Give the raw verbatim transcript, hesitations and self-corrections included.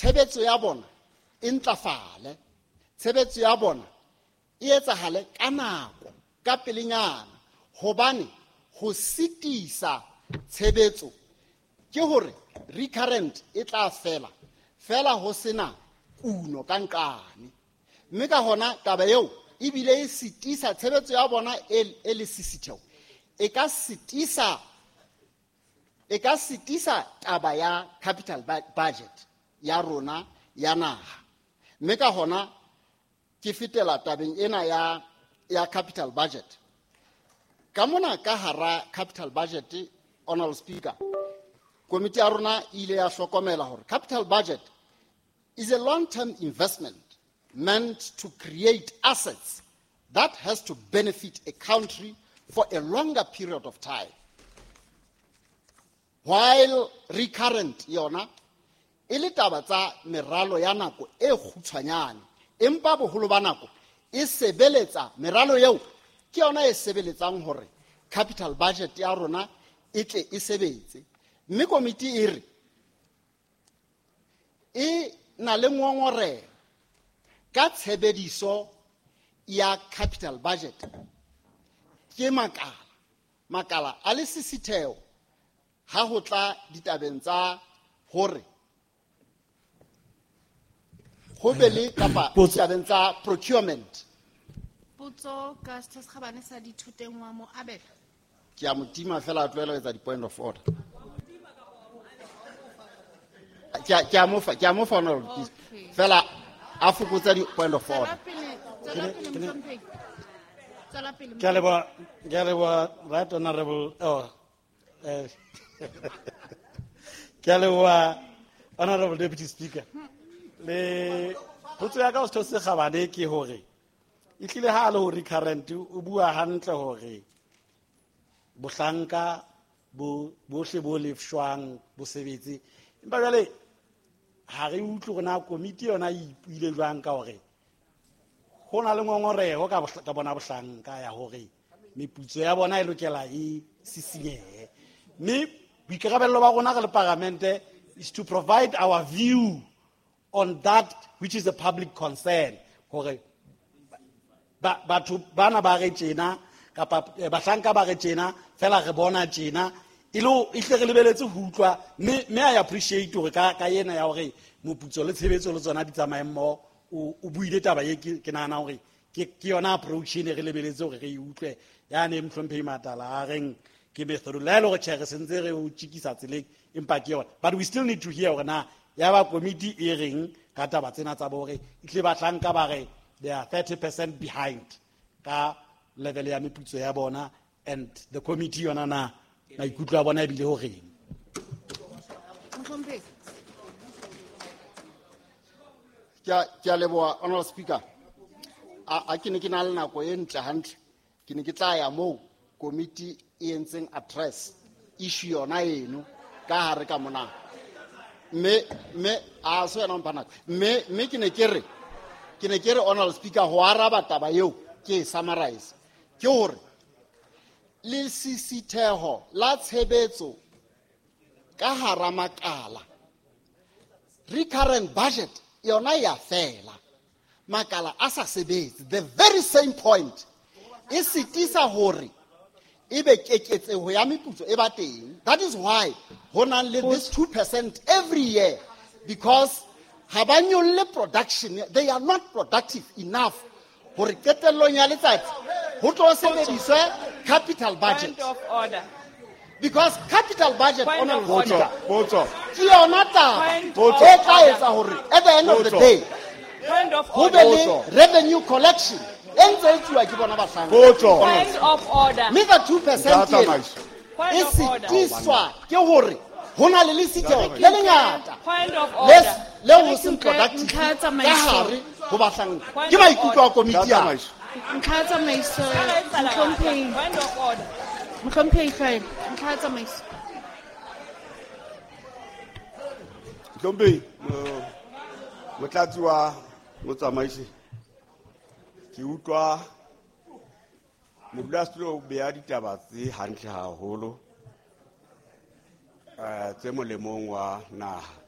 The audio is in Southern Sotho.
tshebetso ya bona e ntlafale, tshebetso ya bona e etsahale ka nako, ka pelenyana, hobane ho sitisa tshebetso ke hore recurrent e tla fela fela ho sena kuno ka nqane. Mme ka hona taba eo ebile e sitisa tshebetso ya bona e, e le sisitheo, e ka sitisa, e ka sitisa taba ya capital budget ya rona ya naha. Mme ka hona ke fetela tabeng ena ya, ya capital budget. Ka mona ka hara capital budget, Honorable Speaker, komiti ya rona e ile ya hlokomela hore capital budget is a long-term investment meant to create assets that has to benefit a country for a longer period of time. While recurrent yona e le taba tsa meralo ya nako e kgutshwanyane, empa boholo ba nako e sebeletsa meralo eo ke yona e sebeletsang hore capital budget ya rona e tle e sebetse. Mme komiti e re e na le ngongoreho ka tshebediso ya capital budget ke makala makala a le sisitheo ha ho tla ditabeng tsa hore ho be le kapa ditabeng tsa procurement. Potso ka Setho se Kgabane sa Dithoteng wa mo abela. Ke a mo tima fela a tlohela ho etsa di-point of order. Ke a, ke a mo fa, ke a mo fa honorable Okay. Fela a fokotsa di-point of order. Tswela pele, tswela pele, Mohlomphehi. Tswela pele, Ke a leboha, ke a leboha, right honorable, oh, eh, ke a leboha, honorable deputy speaker. Le potso ya ka ho Setho se Kgabane ke hore e hlile ha a le ho recurrent o bua hantle hore bohlanka bo bohle bo lefshwang bo sebetse, empa jwale ha re utlwe hore na komiti yona e ipuile jwang ka hore ho na le ngongoreho ka bohla-, ka bona bohlanka ya hore meputso ya bona e lokela e sisinyehe. Mme boikarabello ba rona re le paramente is to provide our view on that which is a public concern, hore ba-, batho bana ba re tjena kapa, eh, bahlanka ba re tjena, fela re bona tjena, e le ho, e hle re lebeletse ho utlwa, mme, mme I appreciate hore ka, ka ena ya hore moputso le tshebetso le tsona di tsamaye mmoho, o, o buile taba e ke, ke nahana hore ke, ke yona approach e ne re lebeletse hore re e utlwe. Yane Mohlomphehi Matala a reng ke method, le ha e le hore tjhe re sentse re o tjikisa tseleng, empa ke yona. But we still need to hear hore na ya ba komiti e reng ka taba tsena tsa bo hore e tle bahlanka ba re they are thirty percent behind ka level ya meputso ya bona, and the committee yona na maikutlo a bona ebile ho reng. Mohlomphehi. Ke a, ke a leboha, Honorable Speaker. A, a ke ne ke na le nako e ntle hantle, ke ne ke tla ya moo komiti e entseng address issue yona eno ka hare ka mona. Mme, mme, a se wena o mpha nako. Mme, mme ke ne ke re, ke ne ke re Honorable Speaker, ho araba taba eo ke e summarize, ke hore lesisitheho la tshebetso ka hara makala, recurrent budget yona ya fela, makala a sa sebetse. The very same point e sitisa hore ebe keketseho ya meputso e ba teng. That is why ho nang le this two percent every year, because ha ba nyolle production, they are not productive enough hore qetellong ya letsatsi ho tlo sebediswe capital budget. Point of order. Because capital budget, Point Honorable of order. Speaker, Potso. ke yona taba Point e of tla order. etsa hore at the end of the Potso. day, Point of ho order. be le Potso. revenue collection e ntse e tsuwa ke bona bahlanka. Potso. Point of order. Mme ka two percent Ntate ena, Tsamaiso. Point e of order. sitiswa ke hore ho na le lesitheo le lengata Point of le order. s-, le ho seng Ntlha productive ya ka tsamaiso. hare ho bahlanka. Point Ke of maikutlo a order. komiti Ntlha ya ya. tsamaiso. Ntlha ya tsamaiso, Mohlomphehi. Point of order. Mohlomphehi Hlwaelo, ntlha ya tsamaiso. Mohlomphehi, mo-, motlatsi wa motsamaisi, ke utlwa modulasetulo o beha ditaba tse hantle haholo, eh, tse molemong wa naha.